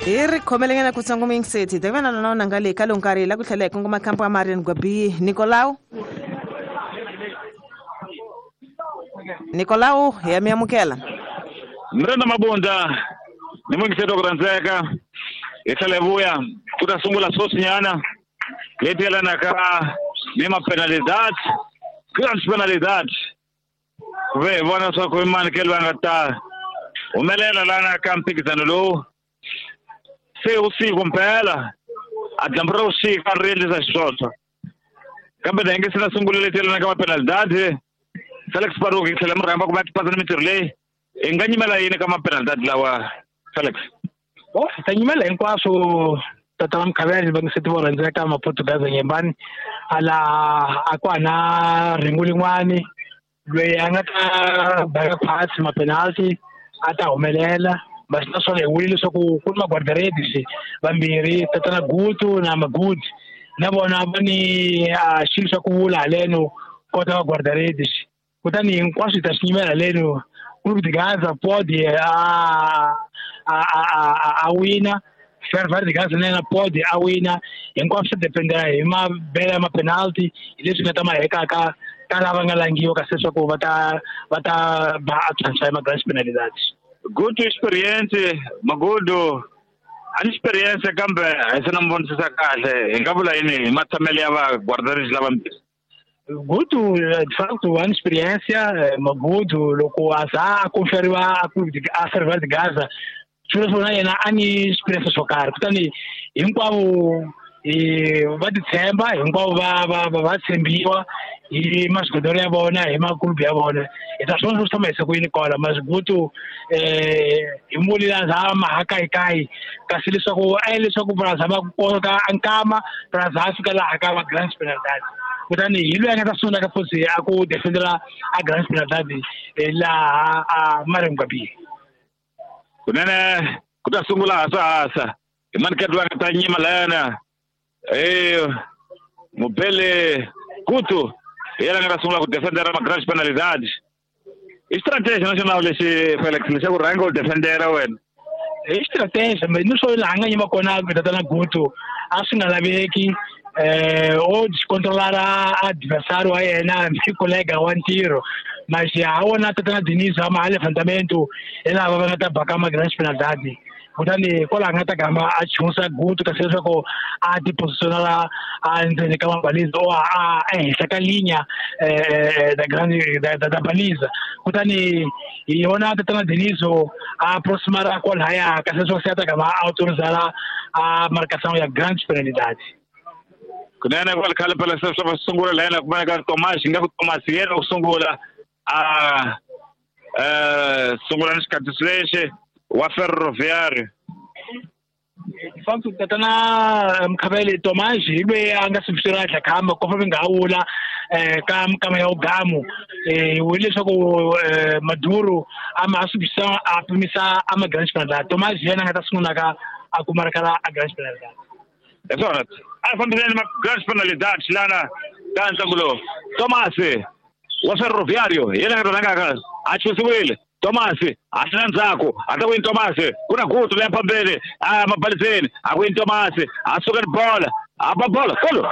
Hi ri khomelenyana kutsongo muyingiseti hi ta va na lona nga le ka lowu nkarhi la ku tlhela hi kongoma kampo ya Marian Gwabi. Nicolau, Nicolau, ya mi amukela. Mrenda Mabunda ni muyingiseti wa ku rhandzeka, hi tlhela hi vuya ku ta sungula sweswinyana leti yelanaka ni mapenalidad, grand penalidad, ku ve hi vona leswaku i mani ke loyi a nga ta humelela lana ka mphikizano lowu. Se vusiku mpela a dyambu ra vusiku a ri endlisa xiswoswo, kambe na hi nge se na sungula leti yelanaka mapenalidad. Felix Baruki tlhela mi rhamba ku va tipasa ni mintirho leyi, hi nga nyimela yini ka mapenalidad lawa, Felix? Bo, hi ta nyimela hinkwaswo tata wa Mkhavele va nge se vo rhandzeka Maportugaza Nyembani ala a ku na rhengu lin'wani loyi a nga ta baka khwatsi mapenalty a ta humelela. Basi naswona hi vule leswaku ku ni maguarda-redes vambirhi, tatana Gutu na Magudi, na vona va ni xilo xa ku vula haleno kota va guarda-redes. Kutani hinkwaswo hi ta swi nyimela haleno. Clube de Gaza pode a wina, Ferroviário de Gaza na yena pode a wina. Hinkwaswo swi dependa hi mabele ya mapenalty, hi leswi nga ta ma hekaka ka lava nga langiwa kasi leswaku va ta ba a transfer ya ma-grand penalidades. Good experience Magudu, a ni experience kambe a hi se na mi vonisisa kahle. Hi nga vula yini hi matshamelo ya va guarda-redes lava mbirhi? Gutu, de facto, a experiência, Magudu, loko a za a conferiwa a Clube de a Ferroviário de Gaza, swi vula swona yena a ni experience swo karhi. Kutani hinkwavo va titshemba, hinkwavo va tshembiwa hi maswigodoro ya vona, hi makulubu ya vona. Hi ta swona swo tshama hi siku yini kwala Masigutu hi muli la za mahakayikai, kasi leswaku a leswaku braza va koka nkama braza a fika laha ka va Grand Penalidad. Kutani hi loyi a nga ta sungula ka futhi a ku defendela a Grand Penalidad laha a Mariam Gwabi. Kunene ku ta sungula hasahasa hi maniketi va nga ta nyima layana Mubele Gutu hi yena a nga ta sungula ku defendera ma Grand Penalidad. I strategy national lexi Felix lexi ku rhanga u defendera wena. I strategy ni swo laha nga nyima kona ku tatana Gutu a swi nga laveki o controlara adversário wa yena ni colega wa ntirho. Mas a wona tatana Diniz a ma levantamento hi lava va nga ta baka ma Grand Penalidad. Kutani kwalaho nga ta gama a chunsa Gutu kasi leswaku a ti positionela a ndzeni ka mabaliza o a ehenhla ka linya da grande da baliza. Kutani hi yona tatana Dinizo a aproximara kwalahaya kasi leswaku se a ta gama a autorizala a marcação ya Grand Penalidad. Kunene kwale khale phela se swa va sungula la yena ku vona ka Tomas, nga ku Tomas yena ku sungula a sungula ni xikatiso lexi wa Ferroviário. Facto tatana Mkhavele Tomas hi loyi a nga sivisiwa dlakhamba ko fa nga wula ka mkama ya ugamu hi leswaku Maduro a ma sivisa a pimisa a ma Grand Penalidad. Tomas yena nga ta sungula ka a kuma kala a Grand Penalidad. Hi swona a fambiseni ma Grand Penalidad lana ka ntlangu lowu. Tomas wa Ferroviário yena nga ta rhangaka a chusiwile. Tomas a tlhela ndzhaku a ta wini Tomas, ku na Gutu leya phambili a mabaliseni a wini Tomas, a suka ni bola a ba bola kolo.